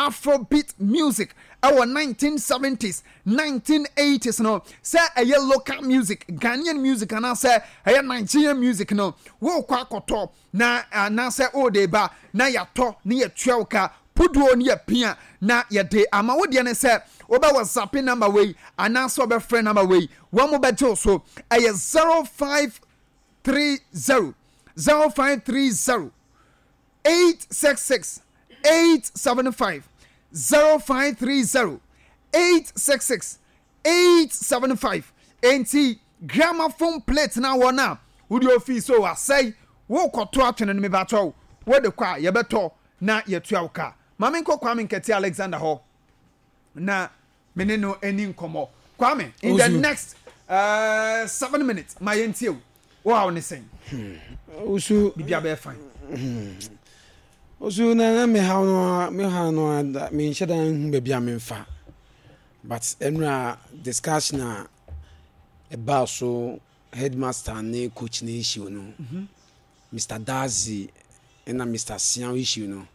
Afrobeat music ɛwɔ 1970s, 1980s no, sɛ ɛyɛ local music, Ghanaian music anaasɛ ɛyɛ Nigerian music no, wokɔ akɔtɔ na anaasɛ wode ba na yɛatɔ ne yɛtua wo ka puduo ne yɛpia na yɛde ama wo. Deɛ ne sɛ wobɛ WhatsApp number wei anaasɛ wobɛfrɛ number wei, wɔn mo bɛgye wo so. Ɛyɛ 0530 0530 866 875, 0530 866 875. Enti gramophone plate na wɔn a wode ofi so asɛe, wokɔto atwene no, mebatɔw wode kɔ a, yɛbɛtɔ na yɛtua wo ka. Maame, nkɔ Kwame Nkɛte Alexander hɔ na mene no ani nkɔmmɔ. Kwame, in the next 7 minutes, ma yɛntie o. Wo haw ne sɛn? Osu. Biribi abɛyɛ fine. Osu na me haw no a menhyɛ da nhu baabi a memfa, but ɛnura discussion a ɛbaa so, headmaster ne coach ne issue no, Mr Dazi ɛna Mr Sian issue no,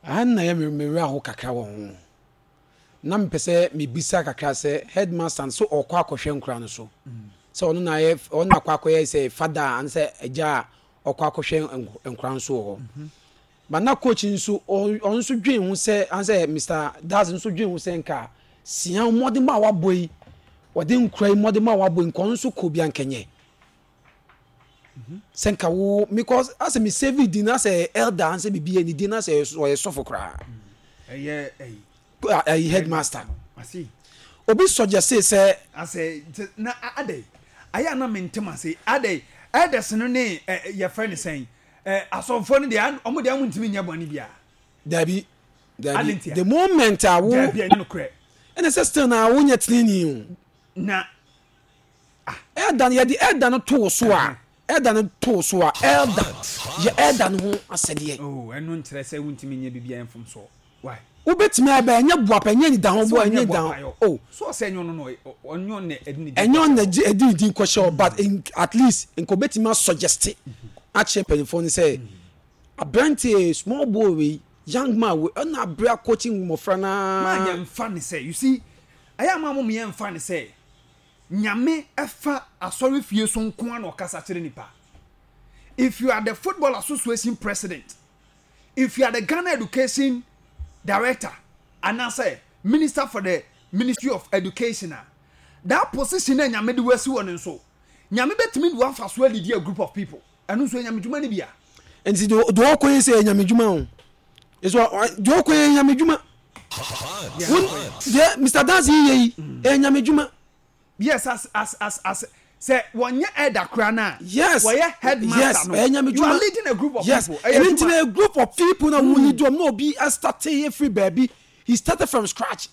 aha na yɛ me werɛ aho kakra wɔ ho, na mepɛ sɛ mebisa kakra sɛ headmaster no so ɔkɔ akɔhwɛ nkora no so sɛ ɔno na yɛ ɔno na akɔ akɔyɛ sɛ fada anaasɛ agya a ɔkɔ akɔhwɛ nkora nso wɔ hɔ, but na coach nso ɔno nso dwen ho sɛ ansɛ Mr Daz nso dwen ho sɛ nka sia mmɔden a wabɔ yi, wɔde nkora yi mmɔden a wabɔ yi, nka ɔno nso kɔ bi ankɛnyɛ sɛ nka wo, because asɛ me save din asɛ elder ansɛ bibi yɛ ne din asɛ ɔyɛ sɔfo koraa. Ɛyɛ ɛyi? Ɛyi, headmaster. Obi suggest sɛ asɛ na adɛ ayɛ ana mentem ase adɛ elders no ne yɛfrɛ ne sɛn, asɔfoɔ no deɛ, ɔmo deɛ ɔmo ntumi nyɛ bɔne bia? Dabi, dabi, the moment a wo Dabi, ɛnyɛ nokorɛ. Ɛna sɛ still na wonyɛ teneni o. Na Elder no, yɛde elder no to so a, elder no to so a, elder yɛ elder no ho asɛdeɛ. Oh, ɛno nkyerɛ sɛ wontumi nyɛ biribi a ɛmfom soɔ. Why? Wobɛtumi ayɛ, ɛnyɛ boapa, ɛnyɛ nida ho bɔ, ɛnyɛ nida ho o. So ɔsɛ ɛnyɛ ɔno no, ɔnyɛ ɔno na ɛde ne din ɛnyɛ ɔno na ɛde ne din kɔhyɛ o, but at least nka obɛtumi asuggest akyerɛ mpanyinfoɔ no sɛ aberanteɛ, small boy wei, young man wei, ɛna abere akɔkyi mmɔfra naa. Maa yɛmfa ne sɛ, you see, ɛyɛ ama mo yɛmfa ne sɛ Nyame ɛfa asɔre fie so nko ara na ɔkasa kyerɛ nipa. If you are the Football Association president, if you are the Ghana Education director anaasɛ minister for the Ministry of Education a, that position na Nyame de wasi wɔ ne nso, Nyame bɛtumi de wafa so alidi a group of people. Ɛno nso Nyame dwuma no bia. Nti deɛ ɔkɔ yi sɛ Nyame dwuma o, nso deɛ ɔkɔ yɛ Nyame dwuma. Deɛ Mr Dansi yɛ yi ɛyɛ Nyame dwuma. Yes, as sɛ wɔnyɛ elder koraa na wɔyɛ headmaster no, ɛyɛ Nyame you are leading a group of people. Ɛyɛ ɛno nti na a group of people na wɔn lead wɔn na obi start efiri baabi, he started from scratch.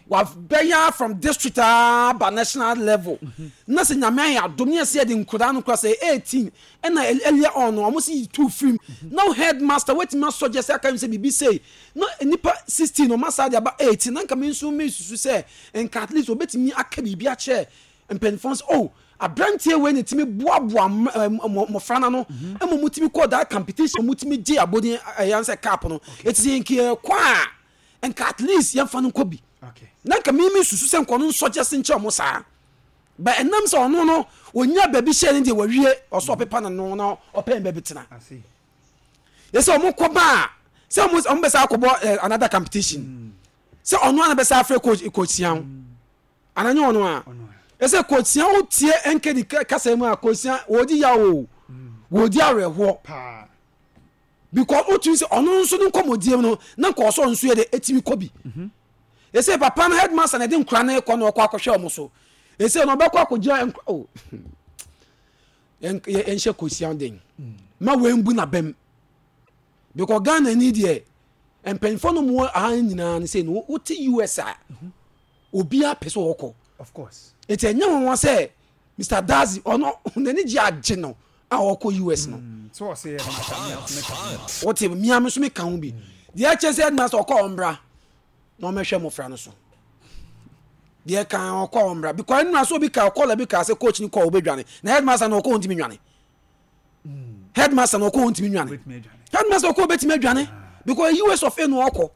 Wabɛyɛ from district aba national level na sɛ Nyame ayɛ adom ne yɛsɛ yɛde nkwadaa no kora sɛ 18 ɛna earlier on no ɔmo sɛ tu firim na headmaster watumi asɔgye sɛ aka sɛ biribi sei na nipa 16 ɔmo asa de aba 18, na nka me nso me susu sɛ nka at least obetumi aka biribi akyerɛ mpanyinfoɔ sɛ, oh, aberanteɛ wei na tumi boaboa mmɔfra no ano ɛma ɔmo tumi kɔ that competition, ɔmo tumi gye abɔden, ɛyɛ sɛ cup no eti sɛ nka yɛkɔ a, nka at least yɛmfa no nkɔ bi. Na nka mímí susu sɛ nkɔ no nsɔgye se nkyɛn ɔmo saa ba, ɛnam sɛ ɔno no onya baabi hyɛ ne deɛ wawie, ɔsɔ ɔpepa n'ano na ɔpɛn baabi tena. Yɛsɛ ɔmo kɔ ba a, sɛ ɔmo bɛ sɛ akɔbɔ another competition, sɛ ɔno ana bɛ sɛ afrɛ coach Sian ananyɛ ɔno a, ɛsɛ coach Sian o tie nkedi kasa mu a, coach Sian wɔdi yaw o, wɔdi awerɛhoɔ because o tumi sɛ ɔno nso ne nkɔmɔdie mu no na nka ɔsɔ nso yɛ de etimi kɔ bi. Ɛsɛ papa no, headmaster na ɛde nkura no kɔ na ɔkɔ akɔhwɛ ɔmo so. Ɛsɛ na ɔbɛkɔ akɔgyina nkura o, yɛnhyɛ coach Sian den ma wɔn n'abɛm, because Ghana ni deɛ, mpanyinfoɔ no mu aha nyinaa no sɛ no wote US a, obiara pɛ sɛ ɔkɔ. Of course. Nti ɛnyɛ wɔn wɔn sɛ Mr Dazi ɔno n'ani gye agye no a ɔkɔ US no. So ɔsɛ headmaster, mi nso meka ho. Wote mmea mi nso mi ka ho bi deɛ, ɛkyɛ sɛ headmaster ɔkɔ, ɔmbra na ɔmɛhwɛ mmɔfra no so deɛ kan ɔkɔ, ɔmbra, because ɛnura so obi ka ɔkɔ la bi ka sɛ coach ni kɔ ɔbɛdwane na headmaster na ɔkɔ, ɔntumi nwane. Headmaster na ɔkɔ, ɔntumi nwane. Headmaster ɔkɔ, ɔbɛtumi adwane because US of A na ɔkɔ.